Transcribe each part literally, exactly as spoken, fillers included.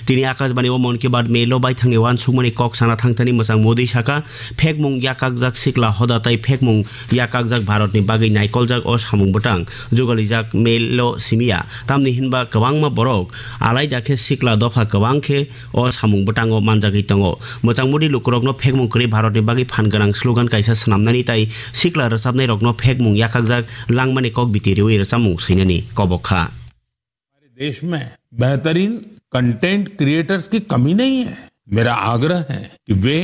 Tini Akashbani o Mann Ki Baat Melo baithangni uansukmani kok sana thangthani mwchang Modi saka, phekmung yakakjak sikla hoda tai phekmung yakakjak Bharatni bagwi naikoljak o samung bwtang jugalijak Melo simiya. Tamni hinba kwbangma borok alaida khe sikla dopha kwbang khe o samung bwtango manjagwi tongo. Mwchang Modi lukurokno phekmung kwrwi Bharatni bagwi phan gwnang slogan kaisa swnamnani tai sikla rwchapnairokno phekmung yakakjak langmani kok biti riwi rwchapmung swinani kobok kha. हमारे देश में बेहतरीन content creators की कमी नहीं है। मेरा आग्रह है कि वे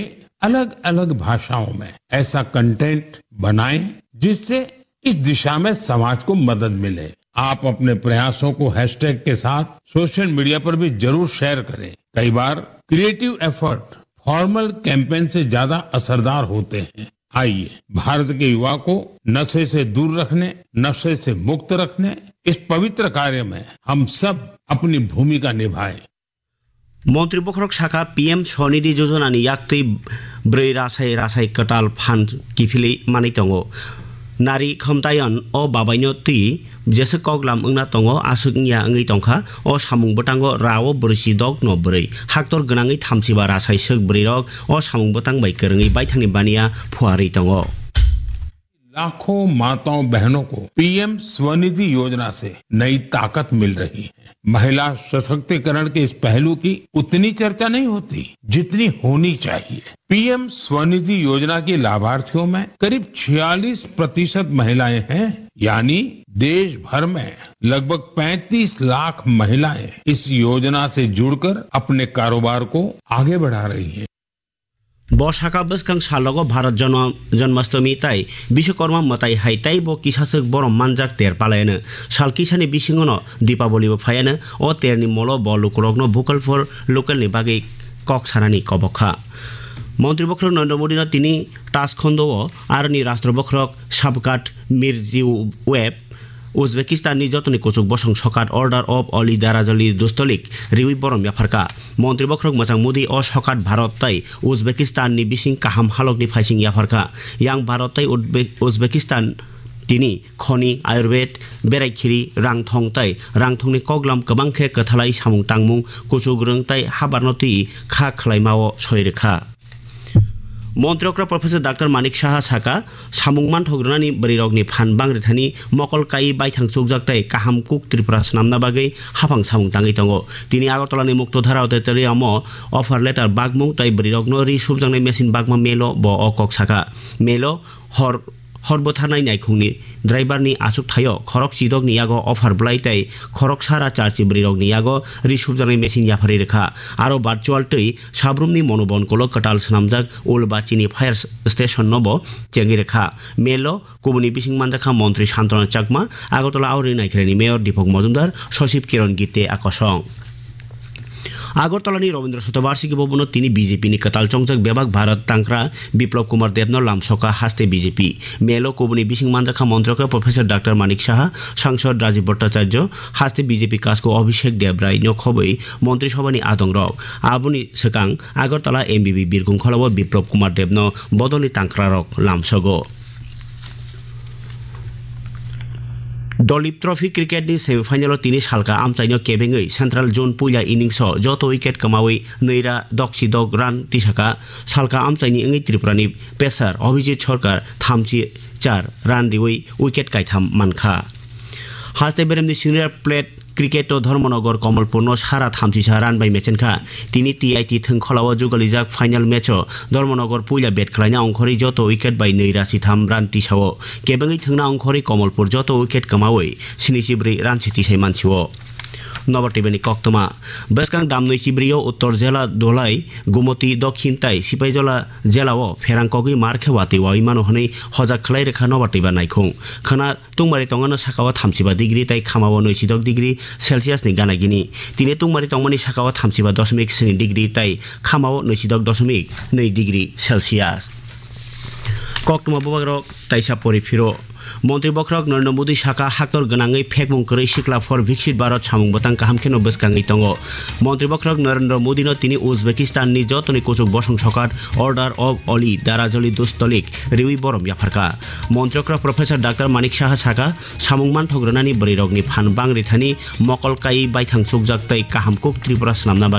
अलग-अलग भाषाओं में ऐसा कंटेंट बनाएं, जिससे इस दिशा में समाज को मदद मिले। आप अपने प्रयासों को हैशटैग के साथ सोशल मीडिया पर भी जरूर शेयर करें। कई बार क्रिएटिव एफर्ट फॉर्मल कैंपेन से ज्यादा असरदार होते हैं। आइए, भारत के युवा को नशे से दूर रखने, नशे से मुक्त रखने, इस पवित्र कार्य में हम सब अपनी भूमिका निभाएं। Montri bokhorok saka, P M Swanidhi Yojana ni yaktwi bwrwi rasai rasai kwtal phan kiphilwi manwi tongo. Nari Khomtayan o babaino twi jeswk koklam wngna tongo, aswk wngya wngwi tongkha. O samung bwtango rao bwrwisidokno bwrwi haktor gwnangwi thamchiba rasai swk bwrwirok o samung bwtang bai kwrwngwi baithangni baniya phuarwi tongo. लाखों माताओं बहनों को पीएम स्वनिधि योजना से नई ताकत मिल रही है। महिला सशक्तिकरण के इस पहलू की उतनी चर्चा नहीं होती, जितनी होनी चाहिए। पीएम स्वनिधि योजना के लाभार्थियों में करीब छियालीस प्रतिशत महिलाएं हैं, यानी देश भर में लगभग पैंतीस लाख महिलाएं इस योजना से जुड़कर अपने कारोबार को आगे बढ़ा रही हैं। Bo saka bwskang salogo Bharat Janma-, Janmashtami tai Biswakarma mwtai hai tei bo kisaswk borom manjak ter palayano. Sal kisani bisingono Dipaboli bo phayano. O terni molo bo lukurokno Vocal for Local ni bagwi kok sanani kobok kha. Montri bokhorok Narendra Modi no tini Tashkhondo o aroni Rashtra bokhorok Shavkat Mirziyoyev Uzbekistan ni jotoni kuchuk bosong sokat Order of Ali Darajali Dustolik riwi borom yapharkha. Montri bokhorok mwchang Modi o sokat Bharat tai Uzbekistan ni bising kaham halok ni phaising yapharkha. Yang Bharat tai Uzbe-, Uzbekistan tini khoni, Ayurved, berai khiri, rangthong tai rangthong ni koklam kwbang khe kwthalai samung tangmung, kuchuk rwng tai habarno twi kha khwlaima o soi rwkha. Montri okra Professor Doctor Manik Saha saka, samung manthok rwnani bwrwirokni phan bang rithani mokol kaiwi baithang chukjak tei kaham kuk Tripura swnamna bagwi haphang samung tangwi tongo. Tini Agartala ni Muktodhara Auditorium o offer letter bagmung tei bwrwirokno ri subjaknai machine bagma melo bo o kok saka. Melo hor Hor bwtharnai naikhungni driverni achukthai-o khorok chidokni yago offer bwlai tei khorok sara charchi bwrwirokni yago ri subjaknai machine yapharwi rwkha. Aro virtual twi sabrumni monobonkulo kwtal swnamjak Ulbachini fire station-no bo chengwi rwkha. Melo kubuni bising manjakha Montri Santana Chakma, Agartala Aurangnaikharani Mayor Deepak Majumdar, Sachib Kiran Gite a kosong. Agartala ni Rabindra Shatabarshiki Bhavan o tini B J P ni kwtal chongjak bebak Bharat tangkra Biplab Kumar Deb no lamsoka haste B J P. Melo kubuni bising manjakha Montri okra Professor Doctor Manik Saha, Sangsad Rajiv Bhattacharya, haste B J P kasko Abhishek Deb Rai no khobwi Montri Sabha ni adong rok. Aboni swkang Agartala M B B Birkung Khola o Biplab Kumar Deb no bodol ni tangkra rok lamsogo. Dolip Trophy cricket ni semi final o tini salka amchaino kebengwi Central Zone puila innings o joto wicket kwmawi nwi ra dokchi dok run tisaka. Salka amchaini wngwi Tripura ni pecer Abhijit Sarkar thamchi char run riwi wicket kaitham mankha. Haste beremni senior plate cricket o Dharmanagar Kamalpur no sara thamchisa run bai mechenkha. Tini T I T thwngkhola o jugalijak final match o Dharmanagar puila bat khwlaina ongkhorwi joto wicket bai nwi ra sitham run tisao. Kebengwi thwngna ongkhorwi Kamalpur joto wicket kwmawi sini chibrwi run si tisai mansio. Nobar T V ni koktwma. Bwskang damnwi chibrwi o Uttor Jela Dholai, Gumoti Dokhin tai Sipaijala Jela o pherang kogwi mar khe watwi wawi mano hwnwi hojak khlai rwkha Nobar T V naikhung. Khwna tungmari tongmano saka o thamchiba degree tai khama o nwisidok degree Celsius ni gana gini. Tini tungmari tongmani saka o thamchiba dosmik sini degree tai khama o nwisidok dosmik nwi degree Celsius. Koktwma bubagrok taisa pori phiro. Montri bokhorok Narendra Modi saka haktor gwnangwi phekmung kwrwi sikla for Viksit Bharat samung bwtang kaham kheno bwskangwi tongo. Montri bokhorok Narendra Modi no tini Uzbekistan ni jotoni kuchuk bosong sokat Order of Ali Darajali Dustolik riwi borom yapharkha. Montri okra Professor Doctor Manik Saha saka, samung manthok rwnani bwrwirokni phan bang rithani mokol kaiwi baithang chukjak tei kaham kuk Tripura swnamna bagwi